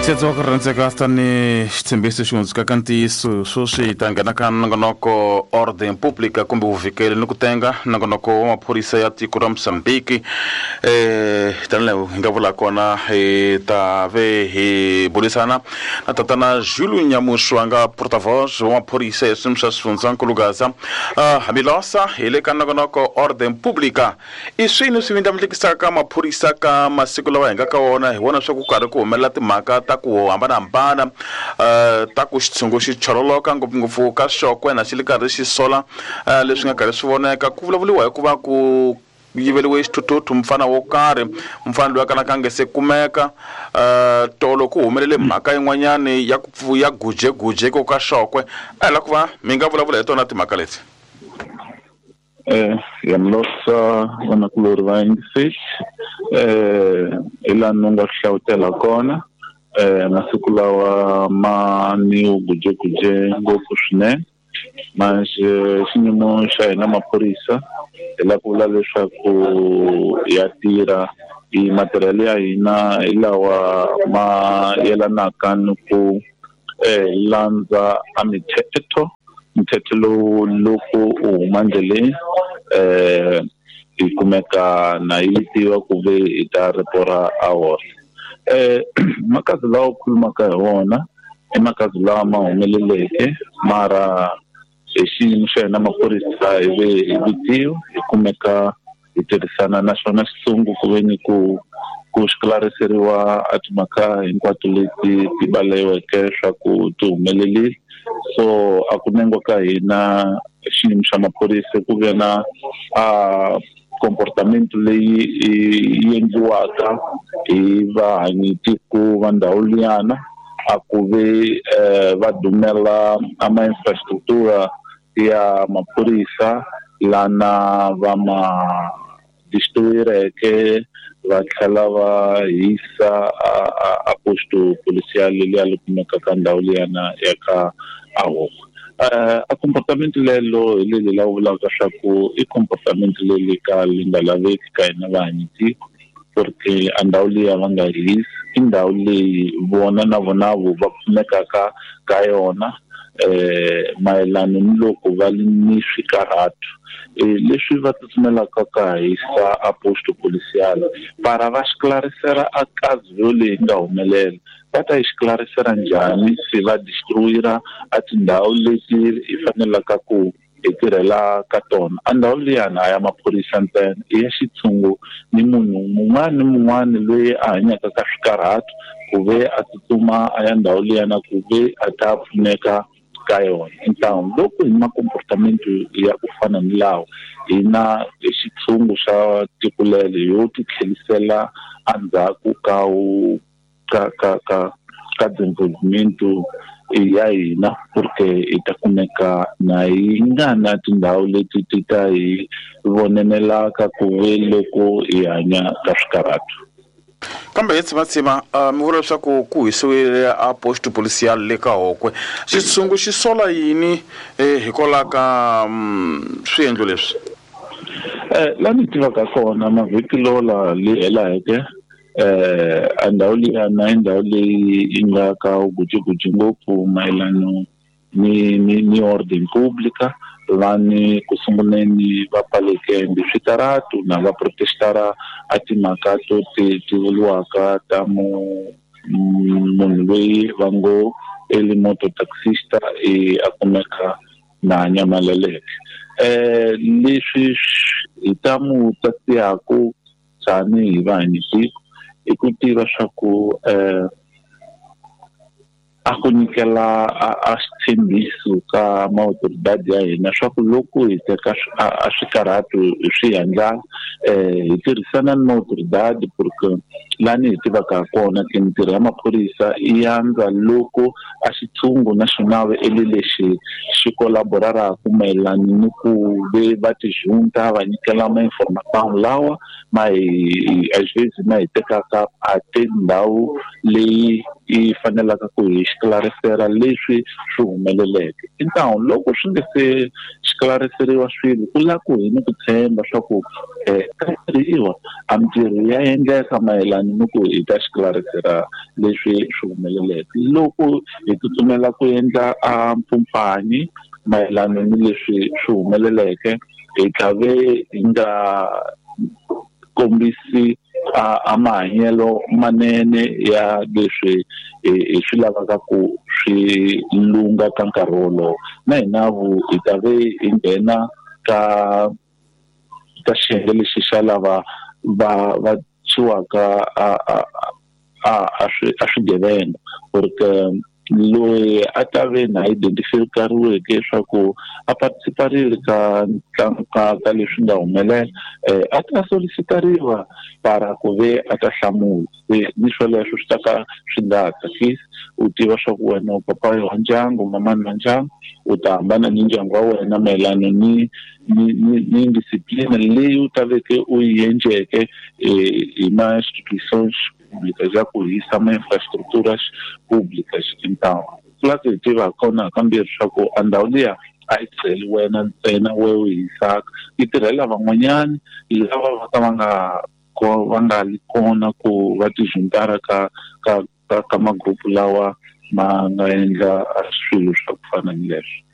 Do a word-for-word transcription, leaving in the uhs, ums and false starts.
Xetso ku rhandzeka tani xitshembiso xi hundzuka ka ntiyiso sweswi hi ta nghena ka nongonoko Ordem Pública kumbe vuvikeli ni ku tenga nongonoko wa maphorisa ya tiko ra Mozambique. Eh tanihi hi nga vula kona hi ta ve hi burisana na tatana Júlio Nyamuxo a nga porta-voz wa maphorisa ya swiyimo swa xifundzankulu Gaza. Hamilosa hi le ka nongonoko Ordem Pública. I swini swi vindlavindlikisaka maphorisa ka masiku lawa hi nga ka wona hi vona swa ku karhi ku humelela timhaka ta ku hambanahambana ta ku xitshungu xi chololoka ngopfungopfu ka xokwe na xi le karhi xi sola leswi nga karhi swi voneka ku vulavuriwa hikuva ku yiveriwe xithuthuthu mfana wo karhi mfana loyi a kalaka a nge se kumeka tolo ku humelele mhaka yin'wanyani ya ku ya gujeguje ko ka xokwe a hi la ku va mi nga vulavula hi tona timhaka leti. Eh yamlosa vanakulori va yingiseli eh hi laha ni nga hlawutela kona eh masiku lawa ma ni gujeguje ngopfu swinene manje xiyimo xa hina maphorisa hi lava ku vula leswaku ya tirha hi matirhelo ya hina hi lawa ma yelanaka ni ku eh landza a mithetho mthetho lowu loko u huma ndleleni eh hi kumeka na yi tiva ku ve hi ta ripora a wona. Eh makazi lawa khulumaka hi wona i makazi lawa ma humeleleke mara hi xiyimo xa hina maphorisa hi ve hi vitiwa hi kumeka hi tirhisana na xona xitshungu ku ve ni ku ku xiklariseriwa a timhaka hinkwato leti ti baleweke swa ku ti humelerile. So a ku nengwa ka hina xiyimo xa maphorisa ku ve na a comportamento leyi yi endliwaka hi vahanyitiko va ndhawu liyana a ku ve va dumela a ma infrastructure ya maphorisa lana va ma destroyereke va tlhela va hisa a posto policial leyi a li kumeka ka ndhawu liyana ya ka Ahoko. A comportamento lelo hi leli la vulaka swa ku i comportamento leli ka li nga laveki ka hina vahanyitiko porque a ndhawu liya va nga hisi i ndhawu leyi vona na vona vo va pfunekaka ka yona eh mayelana ni loko va li ni swikarhato leswi va tsutsumelaka ka hisa a posto policial para va xiklarisela a kazi leyi nga humelela va ta yi xiklarisela njhani se va destroyera a tindhawu leti hi fanelaka ku hi tirhela ka tona. A ndhawu liyana a ya maphorisa ntsena i ya xitshungu ni munhu mun'wana ni mun'wana loyi a hanyaka ka swikarhato ku ve a tsutsuma a ya ndhawu liyana ku ve a ta pfuneka ka yona. Então loko hi ma comportamento ya ku fana ni lawa hina hi xitshungu xa tiko lelo yo ti tlhelisela endzhaku ka ka ka ka ka desenvolvimento ya hina porque hi ta kumeka na yi nga na tindhawu leti ti ta hi vonenelaka ku ve loko hi hanya ka swikarhato. Kambe hi tshimatsima mi vula leswaku ku hisiwile a posto policial le ka Hokwe xitshungu xi sola yini hikwalaho ka swiendlo leswi? Eh la ni tivaka kona mavhiki lola leyi heleke eh a ndhawu liyana i ndhawu leyi yi nga ka gujuguju ngopfu mayelana ni ni ni ordem pública lani ku sunguleni va pfaleke mbi switaratu na va protestara a timhaka to ti ti vuriwaka ta mu munhu loyi va ngo eli moto taxista e a kumeka na nyamaleleke. Eh leswi hi ta mu tatiyaku tanihi vahanyitiko i ku tiva swa ku eh a ku nyikela a xitshembiso ka maautoridade ya hina swa ku loko hi teka a swikarhato hi swi endla eh hi tirhisana ni maautoridade porque lani hi tivaka kona ke mintirho ya maphorisa i yandza loko a xitshungu na xona eli lexi xi collaboraraka mayelana ni ku ve va tijunta va nyikela ma information lawa ma hi às vezes ma hi tekaka a tindhawu leyi yi fanelaka ku hi xiklarisela leswi swi humeleleke. Então loko swi nge se xiklariseriwa swilo ku la ku hi ni ku tshemba swa ku ka tirhiwa a mintirho ya endleka mayelana ni ku hi ta xiklarisela leswi swi humeleleke. Loko hi tsutsumela ku endla a mpfumpanyi mayelana ni leswi swi humeleleke hi tlhave hi nga kombisi a, a mahanyelo manene ya leswi hi swi lavaka ku swi lunga ka nkarhi wolowo. Na hina vu hi ta ve hi nghena ka ka xiyenge lexi xa lava va va tshwiwaka a a a a swi a swigevenga, porque loyi a ta ve na identifikariweke leswaku a participarile ka ntlangu ka ka leswi nga humelela eh a ta solicitariwa para ku ve a ta hlamula. Se ni swoleswo swi ta ka swi nga tsakisi, u tiva swa ku wena u papa wa ndyangu, mamani wa ndyangu, u ta hambana ni ndyangu wa wena mayelana ni ni ni ni indisciplina leyi u ta veke u yi endleke hi ma institutions públicas ya ku hisa ma infraestruturas públicas. Então ku hi tiva kona kambirhi swa ku a ndhawu liya a yi tirheli wena ntsena we u hisaka, yi tirhela van'wanyani lava va ka va nga va nga li kona ku va tijuntara ka ka ka ka magrupu lawa ma nga endla swilo swa ku fana ni leswo.